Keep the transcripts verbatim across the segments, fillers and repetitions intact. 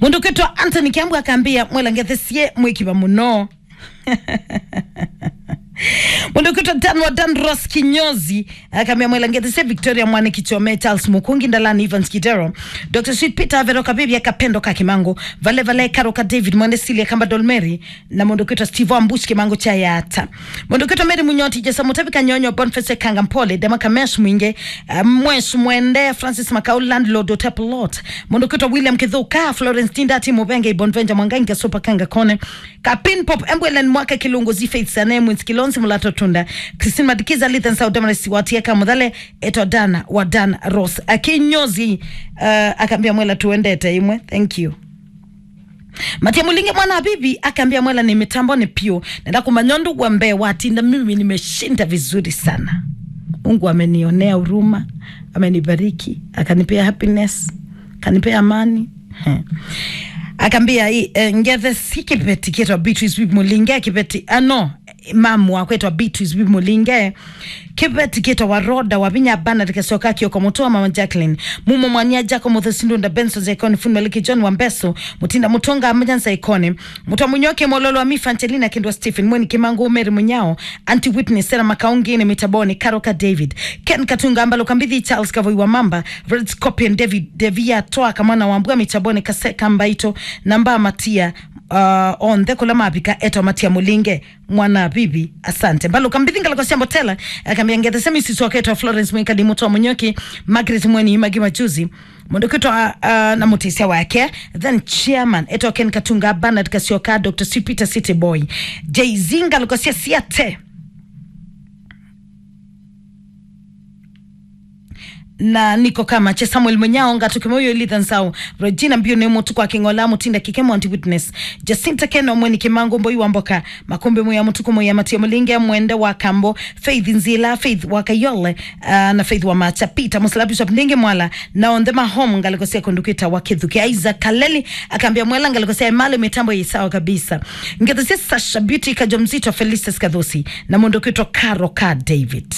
Mũndũ kwĩtwa Anthony Kiambu akambĩa, "Mwela ngethesie mwĩkiva mũno." Mũndũ kwĩtwa Dan wa Dan Ross Kinyozi akambĩa, "Mwela ngethesie Victoria Mwane Kichome, Charles Mukungi, Ndalani Evans Kidero, Doctor Sweet Peter, Vero Kabibia, Kapendo ka Kimangu, Vale Vale, Karo ka David, Mwende Silia, Kamba Dolmeri, na mũndũ kwĩtwa Steve Ambush, Kimangu cha Yata." Mũndũ kwĩtwa Mary Munyoti, Jesa Mutabi Kanyonyo, Boniface Kanga Mpole, Dema Kamesh Mwingi, uh, Mwesh Mwende, Francis Makau, Landlord Otep Lot. Mũndũ kwĩtwa William Kithuka, Florence Tindati, Mubenge, Bonvenja Mwangangi, Super Kanga Kone, Kapin Pop, Embwelen Mwaka, Kilungu, Zifeits, Ane, Mwins Kilonzi, Mulato Tunda, Christine Madikiza, Lithan Saudamaris, Watieka Muthale, Eto Dana, wa Dan Ross. Akinyozi, uh, akambĩa, "Mwela tuendete imwe." Thank you. Matia Mulinge mwana wa bibi akambĩa, "Mwela nĩ mĩtambonĩ piũ. Nenda kũmanya ũndũ wa mbee watinda, mimi nimeshinda vizuri sana. Mungu amenionea huruma, amenibariki, akanipea happiness, akanipea amani." He. Akambĩa, i- eh, ngethe si kĩveti kĩtwa Beatrice Whip Mulinge, kĩveti, ah, no, mamu wakwetwa Beatrice Whip Mulinge. Kĩveti kĩtawa Roda wa Vinya Bernard Kasioka Kioko, mũtũ wa mama Jacqueline, Mumo Mwania Jaco, Muthu Sindunda, Benson Zaikoni, Fundi Maliki, John wa Mbeso, Mutinda Mutonga, Majanza Ikoni, Mutwa Munyoke, Mololo wa Mifa, Angelina Kindwa, Stephen Mweni, Kimangu, Mary Munyao, Auntie Whitney, Sarah Makaungi, ni Mitaboni, Karoka David, Ken Katunga, Mbalo Kambithi, Charles Kavoi wa Mamba, Red Scorpion, David Devia, Toa Kamwana wa Mbua, Mitaboni, Kaseka Mbaito, Namba Matia, uh, onthe kula mavika, Eto Matia Mulinge. Mwana bibi, asante. Mbaluka Mbithi ngalĩko sya Mbotela, akambĩa ngethe semi sisoketwa Florence Mwikali, Mutwa Munyoki, Margaret Mweni, Magi Majuzi, mũndũ kwĩtwa, uh, na mũtĩsya wake, then chairman, Eto Ken Katunga, Bernard Kasioka, Doctor Sweet Peter, City Boy, Jay-Z ngalĩko sya Siate. Na Niko Kamache, Samuel Munyao, Ngatu Kimoyo, Elitha Nsau, Regina Mbiu, nĩ Mũtuku wa King'ola, Mutinda Kike, Mwanti Witness, Jacinta Keno, Mweni Kimangu, Mboi wa Mboka, Makumbi Muya, Mutuku Muya, Matia Mulinge, Mwende wa Kambo, Faith Nzila, Faith wa Kayole, ah, na Faith wa Macha, Peter Musila, Bishop Ndingi Mwala, na onthe ma home, ngalĩko sya kũndũ kwĩtawa Kithuki. Isaac Kaleli akambĩa, Mwela, ngalĩko sya Emali, mĩtambo yĩ sawa kabisa. Ngethe sya Sasha Beauty, Kajo Mzito, Felicitas Kathusi, na mũndũ kwĩtwa Karo ka David.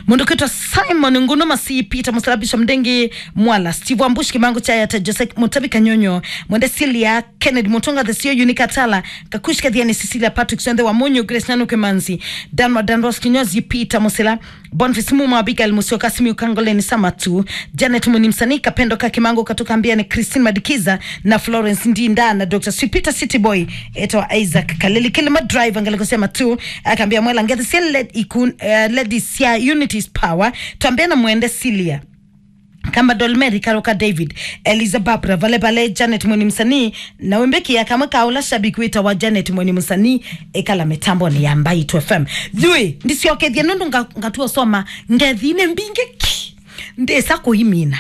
Mũndũ kwĩtwa Simon Ngunu Masi, Peter Musila, Bishop Ndingi Mwala, Steve Ambush, Kimangu cha Yata, Joseph Mutabi Kanyonyo, Mwende Silia, Kennedy Mutunga, The Sio, Unika Tala, Kakush Kathiani, Cecilia Patrick, Sionthe wa Munyu, Grace Nanu Kimanzi, Dan wa Danros Kinyozi, Peter Musila, Boniface Muma, Abigail Musyoka, Simiu Kangoleni, Samatu, Janet Muni, msanii Kapendo ka Kimangu, Katuka Mbiani, Christine Madikiza, na Florence Ndinda, na Doctor Sweet Peter, City Boy, Eto Isaac Kaleli, Kilima Driver, ngalĩko sya Matu, akambĩa, Mwela, ngethe sya led ikun, eh, ladies sya Unity's Power, twambĩa na Mwende Silia. Kamba Dolmeri, Karoka David, Eliza Barbara, Vale Vale, Janet Mweni, msanii, na wĩmbĩkĩa kamwe ka ũla shabiki wĩtawa Janet Mweni, msanii, ĩkala mĩtambonĩ ya Mbaitu F M. Yui, ndisyokethie nũndũ nga-, ngatua soma ngethi nĩ mbingĩ ki. Ndĩsa kũimina.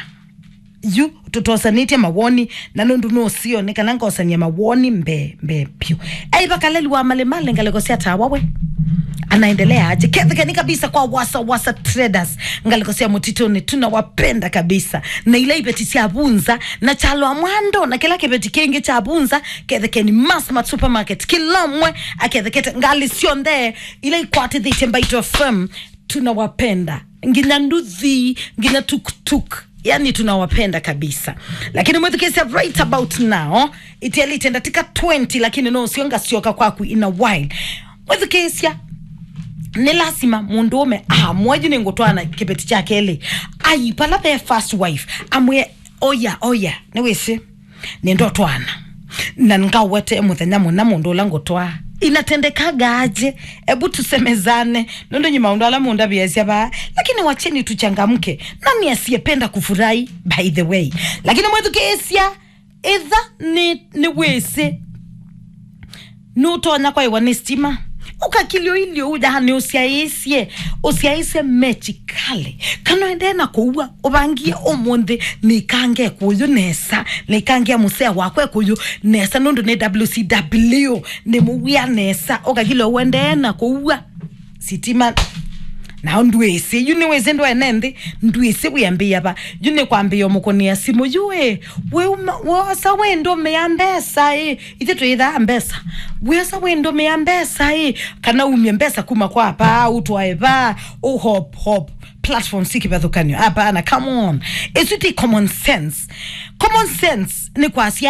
Yu, tũtosanĩtye mawoni, na nũndũ nũsio nĩ kana ngosany'a mawoni mbee, mbee vyũ. Ei, vakaleli wa Malemale, ngalĩko sya Tawa we. Anaendelea aje? Kethekeni kabisa kwa Wasa Wasa Traders, ngalĩko sya Mũtitũnĩ, tunawapenda kabisa. Na ila iveti sya vunza, na chalwa mwando, na kĩla kĩveti kĩngĩ kya vunza, kethekeni Massmart Supermarket, kĩla ũmwe akethekete, ngalĩ syonthe ila ikwatĩthĩtye Mbaitu F M, tunawapenda. Nginya nduthi, nginya tuktuk. Yani tunawapenda kabisa. Lakini mwĩthukĩĩsya right about now, itialĩte ndatĩka twenty, lakini no ũsio ngasyoka kwaku in a while. Mwĩthukĩĩsya, nĩ lasima mũndũũme amwe yu nĩngũtwaana kĩveti kya kelĩ. Ai, pala ve first wife, amwĩe, oya, oya, nĩwĩsĩ. Nĩndotwaana. Na ngawete mũthenya mũna mũndũ ũla ngũtwaa. Inatendekaga aje? Ebu tusemezane. Nũndũ nyi maũndũ ala mũndavĩasya vaa. Lakini wacheni tuchangamke. Nani asiyependa kufurahi, by the way? Lakini mwĩthukĩĩsya, ĩtha nĩ, nĩwĩsĩ. Nũtonya kwaĩwa nĩ sitima. Ũkakilyo ilyo uya nĩ ũsyaĩĩsye. Ũsyaĩĩsye mechi kale. Kana ũendee na kũua, ũvangie ũmũnthĩ, nĩikange kũyũ nesa, nĩikange mũsea wakwa kũyũ nesa, nũndũ nĩ W C W, nĩ mũwĩa nesa, ũkakile ũendee na kũua sitima. Nao ndwĩsĩ, yu nĩwĩsĩ ndwene nthĩ, ndwĩsĩ wĩambĩĩa va, yu nĩ kwambĩĩa ũmũkũnĩa simũ, yu ĩ, wĩuma, wosa wĩndũmĩa mbesa ĩ, ithe twĩthaa mbesa, wĩosa wĩndũmĩa mbesa ĩ, kana umye mbesa kuma kwa apa, ũtwae va, ũhop, hop. Platform si kĩvathũkanyo. Hapana, come on. Ĩsu ti common sense. Common sense nĩ kwasya